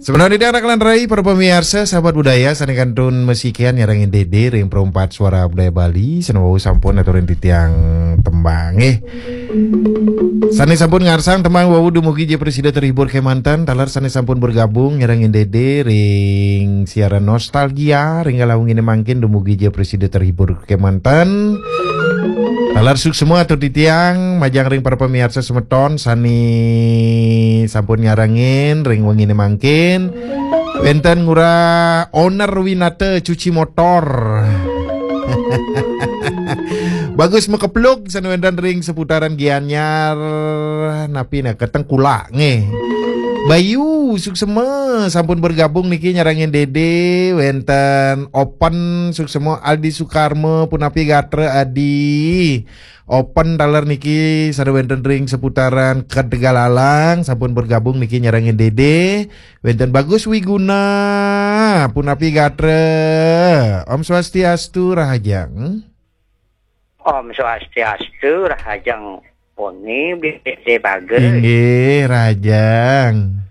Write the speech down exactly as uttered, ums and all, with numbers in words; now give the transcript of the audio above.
Sebenarnya dia anak lan rai para pemirsa, sahabat budaya, sane kantun mesikian nyarangin Dede ring Perempat Suara Budaya Bali, sane wau sampun aturin titiang tembang, eh. Sane sampun ngarsang tembang wau dumugi ja prasida terhibur kemanten, taler sane sampun bergabung nyarangin Dede ring siaran nostalgia, ring kala wengine mangkin dumugi ja prasida terhibur kemanten. Taler suksma atur titiang, majeng ring para pemirsa semeton sane sampun nyarangin ring wengine mangkin. Wenten Ngurah Owner Winata cuci motor. Bagus Mekeplug sane wenten ring seputaran Gianyar, napi ne, Ketengkulak nggih. Bayu suksma sampun bergabung niki nyarangin Dede, wenten Open suksma, Aldi Sukarma punapi gatra Adi. Open taler niki sane wenten ring seputaran Kedegalalang sampun bergabung niki nyarangin Dede. Wenten Bagus Wiguna punapi gatra. Om Swastiastu, Rahajeng. Om Swastiastu, Rahajeng Poni, Bede Bagus. Inggih, Rahajeng.